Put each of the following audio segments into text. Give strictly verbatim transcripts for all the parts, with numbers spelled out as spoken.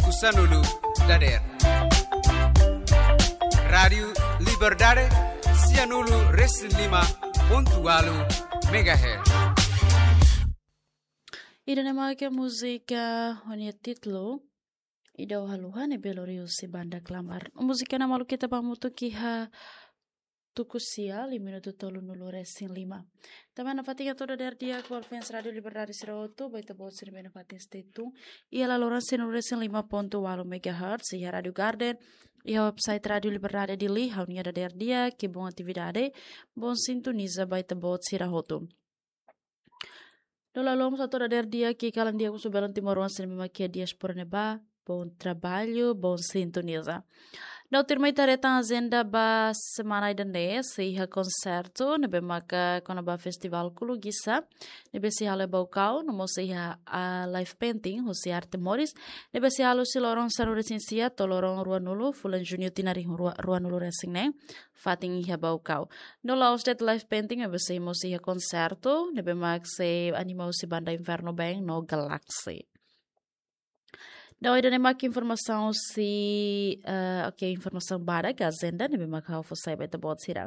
Sanulu dader. Rádiu Liberdade, sianulu resin lima pontu walu megahertz. Ida-ne'e mak múzika ho nia títulu Ida Haluha ne'ebé lori husi banda Klamar. Múzika ne'e malu kita ba mutu kiha tuku sia, liu minutu tolunulu resin lima. Tanba nafatin hato'o dader di'ak ba fans Rádiu Liberdade sira hotu, ba ita-boot sira ne'ebé nafatin stay tune iha laloran sianulu resin lima pontu walu megahertz, iha Rádiu Garden, iha website Rádiu Liberdade Dili, ha'u-nia dader di'ak, bom atividade, bom sintoniza ba ita-boot sira hotu. No la'o mós hato'o dader di'ak kalan di'ak husi belun timoroan sira ne'ebé mak iha diáspora ne'ebá, bom trabalho, bom sintoniza. No tuirmai ita haree tan ajenda ba semana ida-ne'e, sei iha konsertu ne'ebé maka kona-ba festival Kulugisá, ne'ebé sei halo iha Baucau, no mós sei iha, ah, live painting husi Arte Moris, ne'ebé sei halo husi loron sanulu resin sia to'o loron ruanulu fulan Juñu tinan rihun rua, ruanulu resin neen, fatin iha Baucau. No la'ós de'it live painting, ne'ebé sei mós iha konsertu ne'ebé mak sei anima husi banda Inferno Band no Galaxy. No ida-ne'e mak informasaun husi, eh, oke, informasaun badak, ajenda ne'ebé mak ha'u fó sai ba ita-boot sira.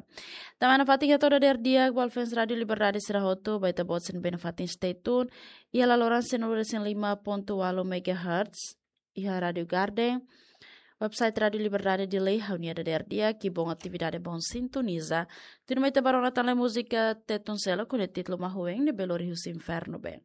Tanba nafatin hato'o dader di'ak ba fans Rádiu Liberdade sira hotu, ba ita-boot sira ne'ebé nafatin stay tune iha laloran sianulu resin lima pontu walu megahertz, iha Rádiu Garden, website Rádiu Liberdade Dili, ha'u-nia dader di'ak, bom atividade, bom sintoniza. Tuirmai ita bá rona tan lai múzika Tetun Seluk ho nia títulu Mahuen ne'ebé lori husi Inferno Band.